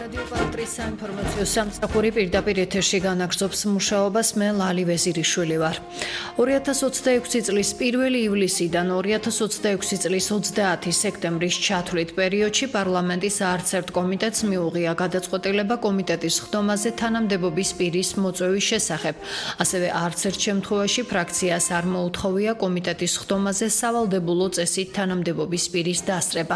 რადიო პარტიის საინფორმაციო სამსახური პირდაპირ ეთერში განაგრძობს მუშაობას. მე ლალი ვეზირიშვილი ვარ. 2026 წლის 1 ივლისიდან 2026 წლის 30 სექტემბრის ჩათვლით პერიოდში პარლამენტის არც ერთ კომიტეტს მიუღია გადაწყვეტილება კომიტეტის ხდომაზე თანამდებობის პირის მოწვევის შესახებ. ასევე არც ერთ შემთხვევაში ფრაქციას არ მოუთხოვია კომიტეტის ხდომაზე სავალდებულო წესით თანამდებობის პირის დასწრება.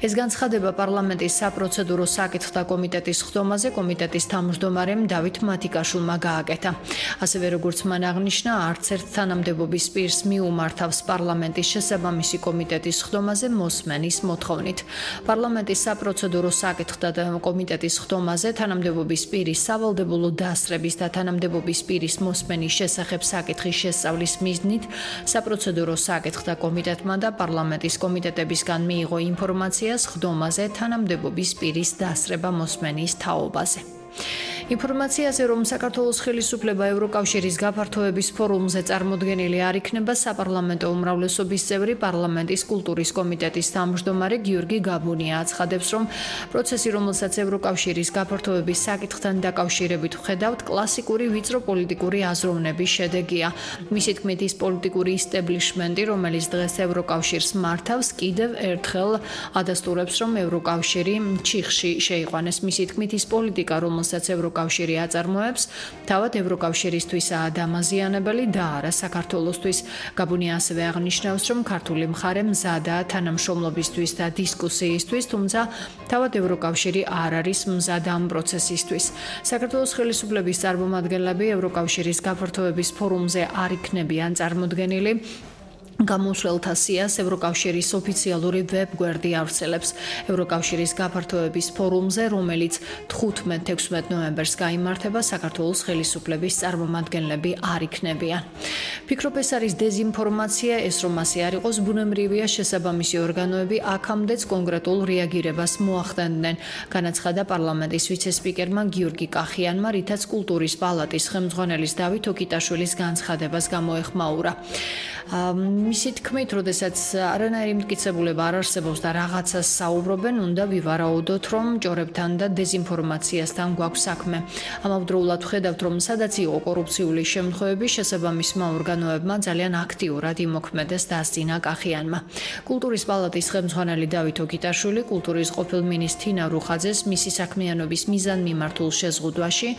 ეს განცხადება პარლამენტის საპროცედურო საკითხთა კომიტეტის ხდომაზე კომიტეტის თავმჯდომარემ დავით მათიკაშვილმა გააკეთა. ასევე როგორც მან აღნიშნა, არც ერთ თანამდებობის პირს მიუმართავს პარლამენტის შესაბამისი კომიტეტის ხდომაზე მოსმენის მოთხოვნით. პარლამენტის საპროცედურო საკითხთა კომიტეტის ხდომაზე თანამდებობის პირის სავალდებულო დასწრების და თანამდებობის პირის მოსმენის შესახებ საკითხის შესწავლის მიზნით საპროცედურო საკითხთა კომიტეტმა და პარლამენტის კომიტეტებისგან მიიღო ინფორმაციას ხდომაზე თანამდებობის პირის დასწრება მოსმენის თაობაზე. ინფორმაციაზე, რომ საქართველოს ხელისუფლება ევროკავშირის გაფართოების ფორუმზე წარმოდგენილი არ იქნება, საპარლამენტო უმრავლესობის წევრი პარლამენტის კულტურის კომიტეტის თავმჯდომარე გიორგი გაბუნია აცხადებს, რომ პროცესი, რომელსაც ევროკავშირის გაფართოების საკითხთან დაკავშირებით ვხედავთ, კლასიკური ვიწრო პოლიტიკური აზროვნების შედეგია. მისი თქმით, ის პოლიტიკური ისტებლიშმენტი, რომელიც დღეს ევროკავშირს მართავს, კიდევ ერთხელ ადასტურებს, რომ ევროკავშირი ჩიხში შეიყვანეს. მისი თქმით, ის პოლიტიკა, რომელსაც ევროკავშირი აწარმოებს, თავად ევროკავშირისთვისაა დამაზიანებელი და არა საქართველოსთვის. გაბუნია ასევე აღნიშნავს, რომ ქართული მხარე მზადაა თანამშრომლობისთვის და დისკუსიისთვის, თუმცა თავად ევროკავშირი არ არის მზად ამ პროცესისთვის. საქართველოს ხელისუფლების წარმომადგენლები ევროკავშირის გაფართოების ფორუმზე არ იქნებიან წარმოდგენილი. გამოსვლელთა სიას ევროკავშირის ოფიციალური ვებგვერდი ავრცელებს. ევროკავშირის გაფართოების ფორუმზე, რომელიც 15-16 ნოემბერს გაიმართება, საქართველოს ხელისუფლების წარმომადგენლები არ იქნებიან. ფიქრობ, ეს არის დეზინფორმაცია, ეს რომ ასე არ იყოს, ბუნებრივია, შესაბამისი ორგანოები აქამდეც კონკრეტულ რეაგირებას მოახდენდნენ, განაცხადა პარლამენტის ვიცესპიკერმა გიორგი კახიანმა, რითაც კულტურის პალატის ხელმძღვანელის დავით ოკიტაშვილის განცხადებას გამოეხმაურა. მისი თქმით, როდესაც არანაირი მტკიცებულება არ არსებობს და რაღაცას საუბრობენ, უნდა ვივარაუდოთ, რომ ჭორებთან და დეზინფორმაციასთან გვაქვს საქმე. ამავდროულად ვხედავთ, რომ სადაც იყო კორუფციული შემთხვევები, შესაბამისმა ორგანოებმა ძალიან აქტიურად იმოქმედეს დასძინა კახიანმა. კულტურის პალატის ხელმძღვანელი დავით ოკიტაშვილი კულტურის ყოფილ მინისტრ თინა რუხაძეს მისი საქმიანობის მიზანმიმართულ შეზღუდვაში,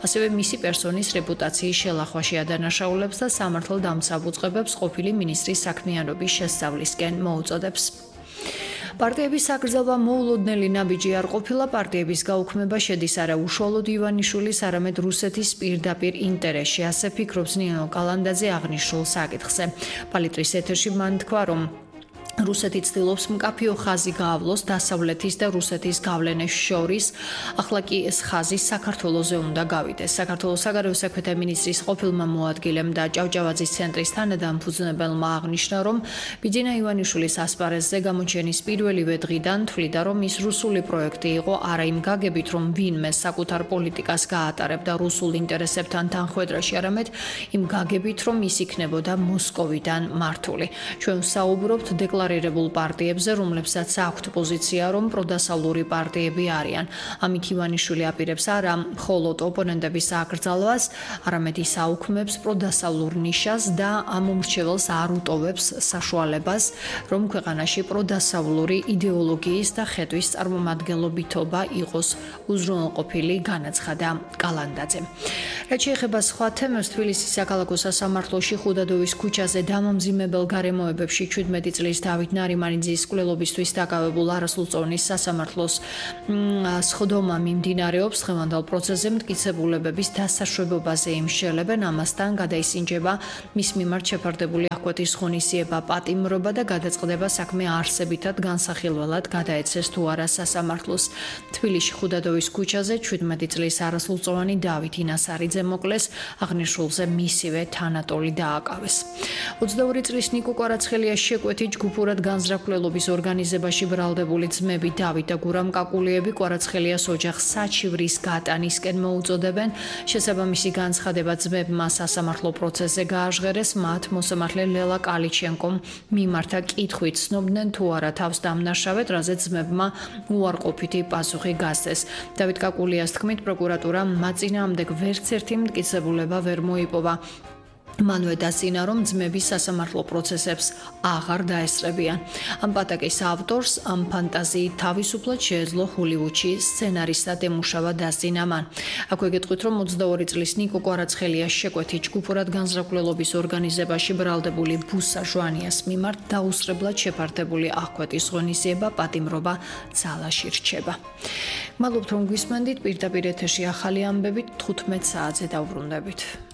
ასევე მისი პერსონის რეპუტაციის შელახვაში ადანაშაულებს და სამართალდამცავ ყოფილი მინისტრის საქმიანობის შესწავლისკენ მოუწოდებს. პარტიების საკრძალვა მოულოდნელი ნაბიჯი არ ყოფილა. პარტიების გაუქმება შედის არა უშუალოდ ივანიშვილის, არამედ რუსეთის პირდაპირ ინტერესში. ასე ფიქრობს ნინო კალანდაძე აღნიშნულ საკითხზე. პალიტრის ეთერში მან თქვა, რომ რუსეთი ცდილობს მკაფიო ხაზი გაავლოს დასავლეთის და რუსეთის გავლენებს შორის. ახლა კი ეს ხაზი საქართველოზე უნდა გავიდეს. საქართველოს საგარეო საქმეთა მინისტრის ყოფილმა მოადგილემ და ჭავჭავაძის ცენტრის თანადამფუძნებელმა აღნიშნა, რომ ბიძინა ივანიშვილის ასპარეზზე გამოჩენის პირველივე დღიდან თვლიდა, რომ ის რუსული პროექტი იყო, არა იმ გაგებით, რომ ვინმე საკუთარ პოლიტიკას გაატარებდა რუსულ ინტერესებთან თანხვედრაში, არამედ იმ გაგებით, რომ ის იქნებოდა მოსკოვიდან მართული. ჩვენ საუბრობთ დეკლარირებულ პარტიებზე, რომლებსაც აქვთ პოზიცია, რომ პროდასავლური პარტიები არიან. ამით ივანიშვილი აპირებს არა მხოლოდ ოპონენტების აკრძალვას, არამედ ის აუქმებს პროდასავლურ ნიშას და ამ უმრჩეველს არ უტოვებს საშუალებას, რომ ქვეყანაში პროდასავლური იდეოლოგიის და ხედვის წარმომადგენლობითობა იყოს უზრუნველყოფილი, განაცხადა კალანდაძემ. რაც შეეხება სხვა თემებს, თბილისის საქალაქო სასამართლოში ხუდადოვის ქუჩაზე დამამძიმებელ გარემოებებში 17 წლის დავით ნარიმანიძის კვლელობისთვის დაკავებულ არასრულწლოვნის სასამართლოს სხდომა მიმდინარეობს. დღევანდელ პროცესზე მტკიცებულებების დასაშვებობაზე იმსჯელებენ, ამასთან გადაისინჯება მის მიმართ შეფარდებული აღკვეთის ღონისძიება პატიმრობა და გადაწყდება საქმე არსებითად განსახილველად გადაეცეს თუ არა სასამართლოს. თბილისში ხუდადოვის ქუჩაზე 17 წლის არასრულწლოვანი დავით ინასარიძე მოკლეს, აღნიშნულზე მისივე თანატოლი დააკავეს. 22 წლის ნიკო კვარაცხელიას შეკვეთით ჯგუფურად განზრახულობის ორგანიზებაში ბრალდებული ძმები დავით და გურამ კაკულიები კვარაცხელიას ოჯახს საჩივრის გატანისკენ მოუწოდებენ. შესაბამისი განცხადება ძმებმა სასამართლო პროცესზე გააჟღერეს, მათ მოსამართლე ლელა კალიჩენკომ მიმართა კითხვით ცნობდნენ თუ არა თავს დამნაშავედ, რაზეც ძმებმა უარყოფითი პასუხი გასცეს. დავით კაკულიას თქმით, პროკურატურა მათ წინააღმდეგ ვერც ერთი მტკიცებულება ვერ მოიპოვა. მანვე დასწინა, რომ ძმები სასამართლო პროცესებს აღარ დაესწრებიან. ამ პატაკის ავტორს ამ ფანტაზიით თავისუფლად შეეძლო ჰოლივუდში სცენარისტად ემუშავა დასწინა მან. აქვე გეტყვით, რომ 22 წლის ნიკო კვარაცხელიას შეკვეთით ჯგუფურად განზრახველობის ორგანიზებაში ბრალდებული ბუსა ჟვანიას მიმართ დაუსწრებლად შეფართებული აღკვეთის ღონისძიება პატიმრობა ძალაში რჩება. მადლობთ, რომ გვისმენდით. პირდაპირ ეთერში ახალი ამბებით 15 საათზე დავბრუნდებით.